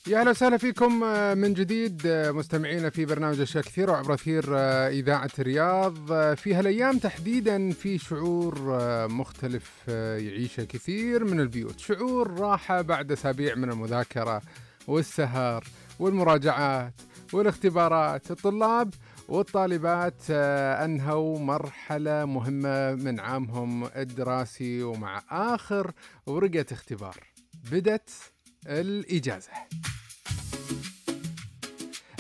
يا أهلا وسهلا فيكم من جديد مستمعينا في برنامج أشياء كثيرة وعبر أثير إذاعة الرياض. في هالأيام تحديدا في شعور مختلف يعيشه كثير من البيوت، شعور راحة بعد أسابيع من المذاكرة والسهر والمراجعات والاختبارات. الطلاب والطالبات أنهوا مرحلة مهمة من عامهم الدراسي، ومع آخر ورقة اختبار بدت الإجازة.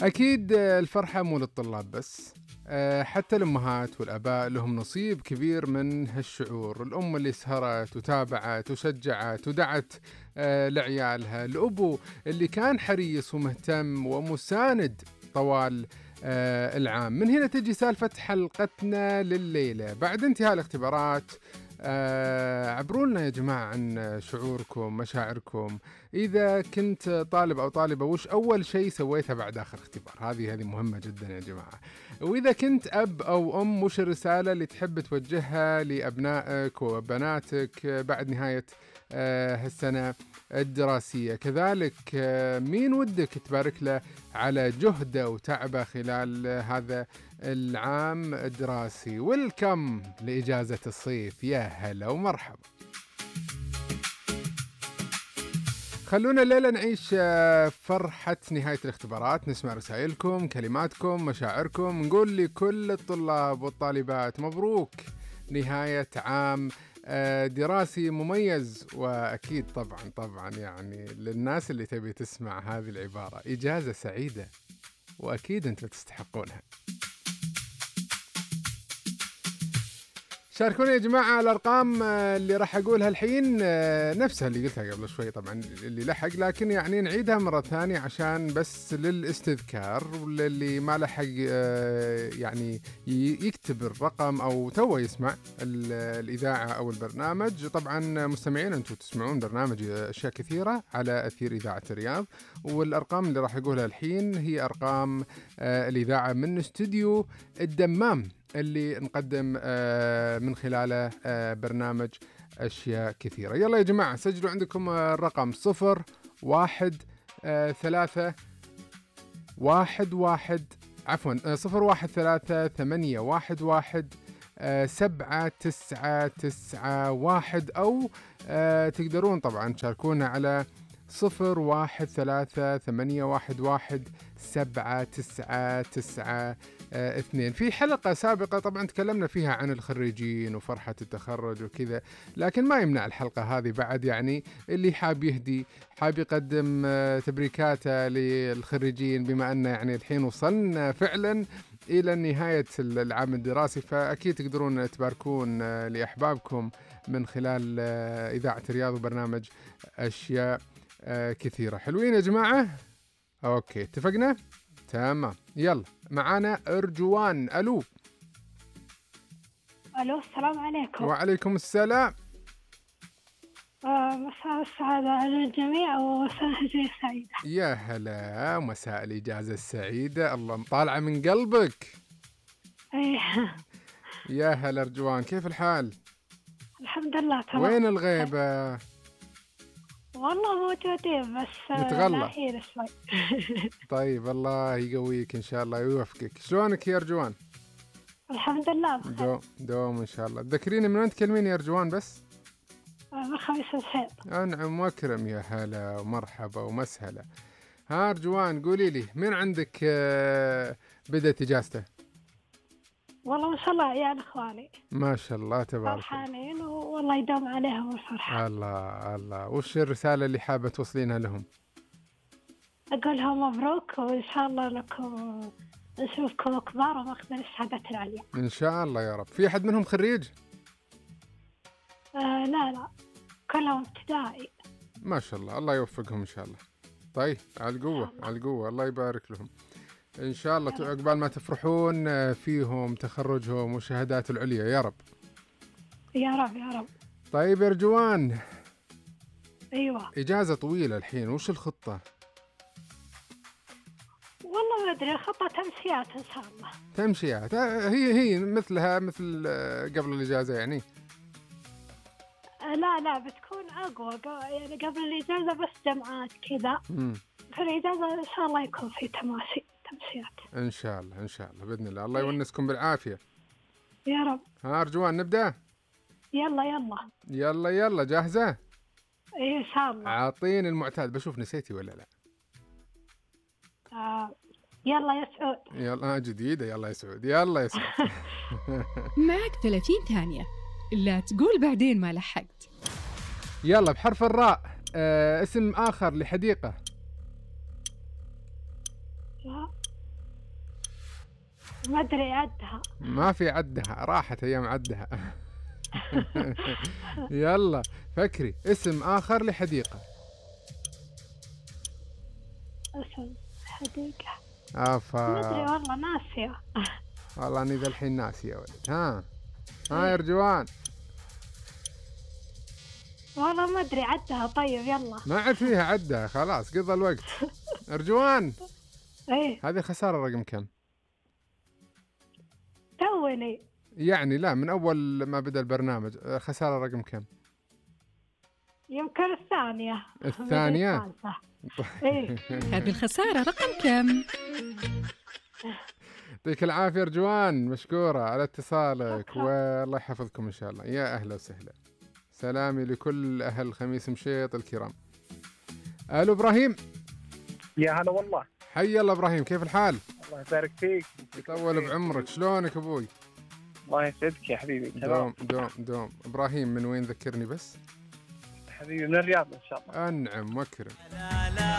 أكيد الفرحة مو للطلاب بس، حتى الأمهات والأباء لهم نصيب كبير من هالشعور. الأم اللي سهرت وتابعت وشجعت ودعت لعيالها، الأبو اللي كان حريص ومهتم ومساند طوال العام. من هنا تجي سالفة حلقتنا لليلة بعد انتهاء الاختبارات. عبروا لنا يا جماعة عن شعوركم، مشاعركم. إذا كنت طالب أو طالبة، وش أول شيء سويته بعد آخر اختبار؟ هذه مهمة جدا يا جماعة. وإذا كنت أب أو أم، وش الرسالة اللي تحب توجهها لأبنائك وبناتك بعد نهاية هالسنة الدراسية؟ كذلك مين ودك تبارك له على جهده وتعبه خلال هذا العام الدراسي؟ ويلكم لإجازة الصيف، يا هلا ومرحبا. خلونا الليلة نعيش فرحة نهاية الاختبارات، نسمع رسائلكم، كلماتكم، مشاعركم. نقول لكل الطلاب والطالبات مبروك نهاية عام دراسي مميز. وأكيد طبعا يعني للناس اللي تبي تسمع هذه العبارة، إجازة سعيدة، وأكيد أنتم تستحقونها. شاركونا يا جماعة. الأرقام اللي راح أقولها الحين نفسها اللي قلتها قبل شوي طبعا اللي لحق، لكن يعني نعيدها مرة ثانية عشان بس للاستذكار، واللي ما لحق يعني يكتب الرقم أو توه يسمع الإذاعة أو البرنامج. طبعا مستمعين أنتم تسمعون برنامج أشياء كثيرة على أثير إذاعة الرياض، والأرقام اللي راح أقولها الحين هي أرقام الإذاعة من استوديو الدمام اللي نقدم من خلاله برنامج أشياء كثيرة. يلا يا جماعة سجلوا عندكم الرقم 013 013-811-7991، أو تقدرون طبعا تشاركونا على 013-811-7992. في حلقة سابقة طبعا تكلمنا فيها عن الخريجين وفرحة التخرج وكذا، لكن ما يمنع الحلقة هذه بعد يعني اللي حاب يهدي، حاب يقدم تبريكاته للخريجين، بما أن يعني الحين وصلنا فعلا إلى نهاية العام الدراسي، فأكيد تقدرون تباركون لأحبابكم من خلال إذاعة الرياض وبرنامج أشياء كثيرة. حلوين يا جماعة؟ أوكي اتفقنا؟ تمام. يلا معانا أرجوان. ألو السلام عليكم. وعليكم السلام. مساء السعادة على الجميع ومساء الإجازة السعيدة. يا هلا، مساء الإجازة السعيدة، الله مطالعة من قلبك. يا هلا أرجوان، كيف الحال؟ الحمد لله تمام. وين الغيبة؟ والله موجودين بس متغلى شوي. طيب الله يقويك إن شاء الله ويوفقك. شلونك يا أرجوان؟ الحمد لله بخير. دوم إن شاء الله. ذكريني من وين تكلمين يا أرجوان بس؟ من خميس الخير. أنعم وأكرم، يا هلا ومرحبا ومسهلا. ها أرجوان قولي لي، من عندك بدأت إجازته؟ والله ما شاء الله عيال إخواني ما شاء الله تبارك فرحانين والله يدوم عليهم الفرحة. الله. وش الرسالة اللي حابة توصلينها لهم؟ أقول لهم مبروك، وإن شاء الله لكم نشوفكم كبار وماخذين الشهادات العليا إن شاء الله يا رب. في أحد منهم خريج؟ لا كلهم ابتدائي. ما شاء الله، الله يوفقهم إن شاء الله. طيب على القوة الله يبارك لهم إن شاء الله. عقبال ما تفرحون فيهم تخرجهم والشهادات العليا يا رب. يا رب. طيب يا رجوان. أيوة. إجازة طويلة الحين، وش الخطة؟ والله ما أدري، الخطة تمشيات إن شاء الله. تمشيات، هي مثلها مثل قبل الإجازة يعني؟ لا بتكون أقوى يعني قبل الإجازة بس جمعات كذا في الإجازة إن شاء الله يكون في تمشيات. إن شاء الله إن شاء الله بإذن الله. الله يونسكم بالعافية. يا رب. ها أرجوان نبدأ؟ يلا يلا. يلا يلا جاهزة؟ إيه إن شاء الله. أعطيني المعتاد، بشوف نسيتي ولا لا. يلا يا سعود. يلا جديدة، يلا يا سعود، يلا يا سعود. معك 30 ثانية، لا تقول بعدين ما لحقت. يلا بحرف الراء. اسم آخر لحديقة. ما أدري عدها. ما في عدها، راحت أيام عدها. يلا فكري، اسم آخر لحديقة. اسم حديقة. آفا. ما أدري والله ناسية. والله أني ذا الحين ناسي يا ولد. ها يا أرجوان. والله ما أدري عدها. طيب يلا. ما عاد فيها عدها، خلاص قضى الوقت. أرجوان. إيه. هذه خسارة رقم كم؟ توني. يعني لا، من أول ما بدأ البرنامج. خسارة رقم كم؟ يمكن الثانية. الثانية؟ إيه. هذه الخسارة رقم كم؟ يعطيك العافية أرجوان، مشكورة على اتصالك، والله يحفظكم إن شاء الله. يا أهلا وسهلا، سلامي لكل أهل خميس مشيط الكرام. ألو إبراهيم. يا هلا والله. حي الله إبراهيم، كيف الحال؟ الله يبارك فيك. يطول بعمرك، شلونك أبوي؟ الله يسعدك يا حبيبي. دوم دوم دوم. إبراهيم من وين ذكرني بس؟ حبيبي من الرياض إن شاء الله. أنعم وأكرم.